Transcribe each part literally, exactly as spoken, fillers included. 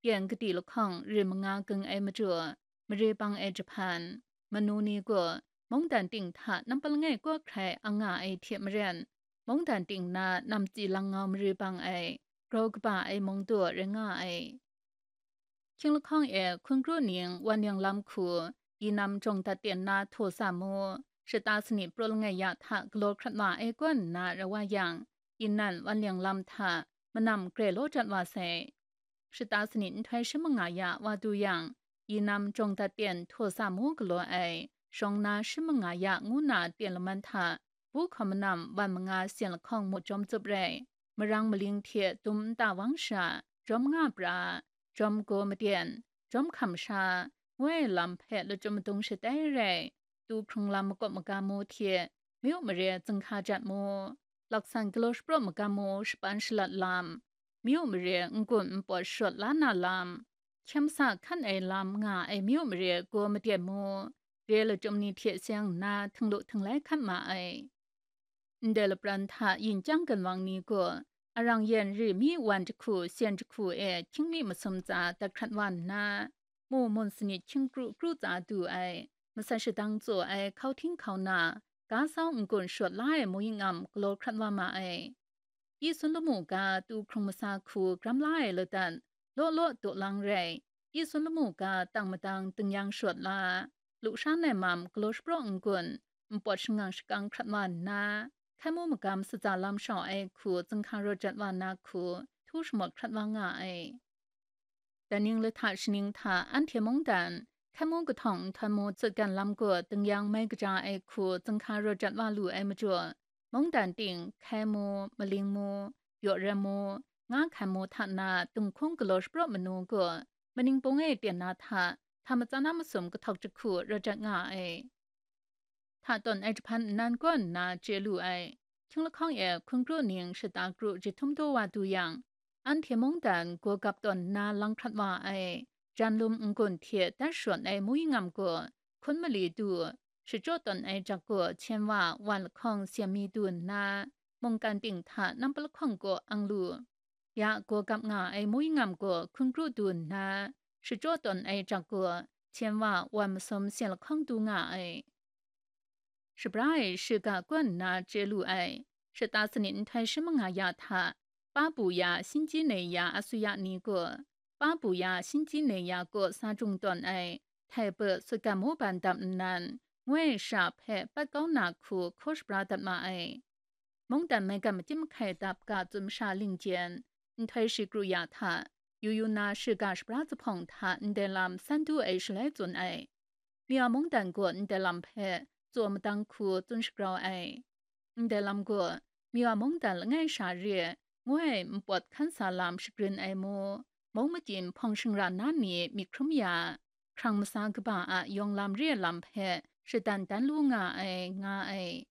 yan kadi lahkawng rim manga gung ai majaw, mare bang ai jahpan, manu ni gaw mungdan ting hta nampa langai kaw hkrai ang nga ai hte maren, mungdan ting na namtsi langngau mare bang ai, grau kaba ai mung daw rai nga ai. Hkying lahkawng e hkun kru ning wan yang lam hku, yi nam jawng dat ten na htaw sa mu, shata sanit praw langai ya hta galaw hkrat wa ai kaw nna rai wa yang, yi nan wan yang lam hta manam grai law jat wa sai. Shata sanit nhtoi shi manga ya wa du yang, yi nam jawng dat ten htaw sa mu galaw ai, shawng na shi manga ya ngu na ten laman hta, bu hkaw manam wan manga syen lahkawng mu jawm tsup rai, marang maling hte dum nta wang sha, jawm nga pra, jawm gaw maten, jawm hkam sha, ngu ai lam hpe lachyum madung shatai rai, tu hkrung lam makawp magam mu hte, myu mare zunghka jat mu, laksan galaw shapraw magam mu shapan shalat lam, myu mare n-gun npawt shawt la na lam, hkyem sa hkan ai lam nga ai myu mare gaw maten mu, re lachyum ni hte seng nna htinglu htinglai hkat ma ai. Ndai lapran hta yin chyang ginwang ni gaw, arang yen ri mi wan jahku syen jahku e hkying mi masum tsa dat hkrat wa nna, mu mun sanit hkying kru kru tsa du ai, masat shadang tsaw ai hkau hting hkau na, ga sau n-gun shawt la ai mu ying am galaw hkrat wa ma ai. Yi sun lamu ga tu hkrung masa hku gram la ai ladan, law law daw lang rai, yi sun lamu ga tang madang ding yang shawt la, lu shan ai mam galaw shapraw n-gun, npawt shangang shakang hkrat wa nna, hkai mu magam satsa lam shau ai hku zunghka rawt jat wa na hku htu shamawt hkrat wa nga ai. Daning lahta shaning hta anhte mungdan, hkai mu kahtawng nhtawm mu tsutgan lam gaw ding yang mai kaja ai hku zunghka rawt jat wa lu ai majaw, mungdan ting hkai mu, maling mu, yaw ram mu, nga hkan mu hta na dinghkung galaw shapraw manu gaw, maning pung e ten na hta, hta matsan a masum kahtawk jahku rawt jat nga ai. Hta tawn ai jahpan nnan kaw nna chye lu ai. Hkying lahkawng e hkun kru ning shata kru jahtum daw wa du yang, anhte mungdan gaw gap tawn nna lang hkrat wa ai, jan lum n-gun hte dat shawt ai mu ying am gaw, hkun mali du, shachyaw tawn ai jak gaw hpyen wa wan lahkawng syen mi du nna, mungkan ting hta nampa lahkawng kaw ang lu. Ya gaw gap nga ai mu ying am gaw hkun kru du nna, shachyaw tawn ai jak gaw hpyen wa wan masum syen lahkawng du nga ai. Shabra e shiga kaw nna chye lu ai, shata sanit nhtoi shi manga ya hta, pa bu ya, shinji nei ya asuya ni gaw, pa bu ya, shinji nei ya kaw sa jung tawn ai, htai pe sutgan mu ban dap nnan, ngoi sha hpe pat kau na hku hkaw shabra dat ma ai. Mungdan maigan makyim mahkai dap ga tsun masha lingjen, nhtoi shi kru ya hta, yu yu na shiga shabra zuphpawng hta ndai lam san du ai shaloi tsun ai. Miwa mungdan gaw ndai lam hpe tsaw madang hku tsun shagrau ai. Ndai lam gaw, Miwa mungdan langai sha re, ngu ai npawt hkan sa lam shagrin ai mu, mung makyim hpawng shingra na ni myit hkrum ya, hkrang masa kaba a yawng lam re lam hpe shadan dan lu nga ai, nga ai.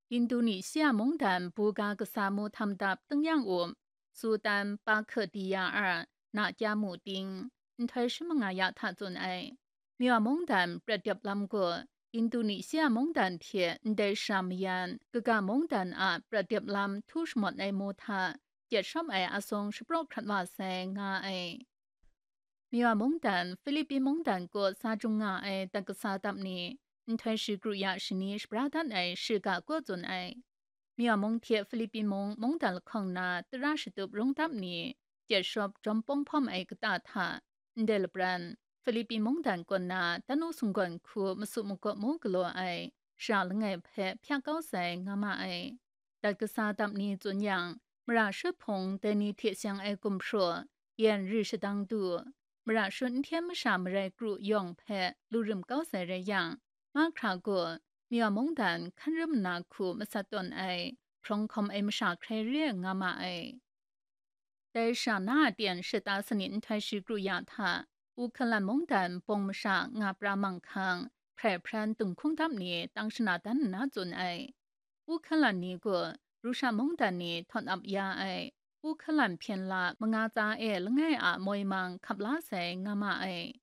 Indonesia mungdan buga kasa mu htam dap tung yang up, Sultan Bakhtiyar na kya mu ting, nhtoi shi manga ya hta tsun ai. Miwa mungdan prat dep lam gaw, Indonesia mungdan hte ndai sha mayan, kaga mungdan a prat dep lam htu shamawt ai mu hta, gyet shawm ai asung shapraw hkrat wa sai, nga ai. Miwa mungdan, Philippine mungdan kaw sa jung nga ai dat kasa dap ni, nhtoi shi kru ya shani shabra dat ai shiga kaw tsun ai. Miwa mung hte Philippine mung mungdan lahkawng na tara shatup rung dap ni, gyet shawp jawm pawng hpawm ai kata hta, ndai lapran, Philippine mungdan kaw na tanu sunggawn hku masu magawp mu galaw ai, sha langai hpe hpyak kau sai, nga ma ai. Dat kasa dap ni tsun yang, mara shut hpung dai ni hte seng ai gumhpraw, yan ri shadang du, mara shut n hten masha marai kru yawng hpe lu rim kau sai rai yang, mahkra gaw, Miwa mungdan hkan rum nna hku masat tawn ai, hprawng hkawm ai masha hkrai re nga ma ai. Dai sha na a ten shata sanit nhtoi shi kru ya hta, Ukhalan mungdan bawng masha nga pra manghkang, hprai hpran dinghkung dap ni tang shana dan nna tsun ai. Ukhalan ni gaw, Rusha mungdan ni htawt ap ya ai, Ukhalan hpyen la manga tsa e langai a moi mang hkap la sai, nga ma ai.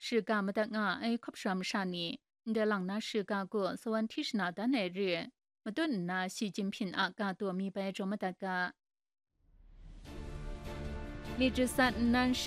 Shiga madat nga ai hkawp sha masha ni, ndai lang na shiga gaw sawan hti shana dan ai re, matut nna Xi Jinping a ga taw mi bai jaw madat ga. Myit jasat nnan shi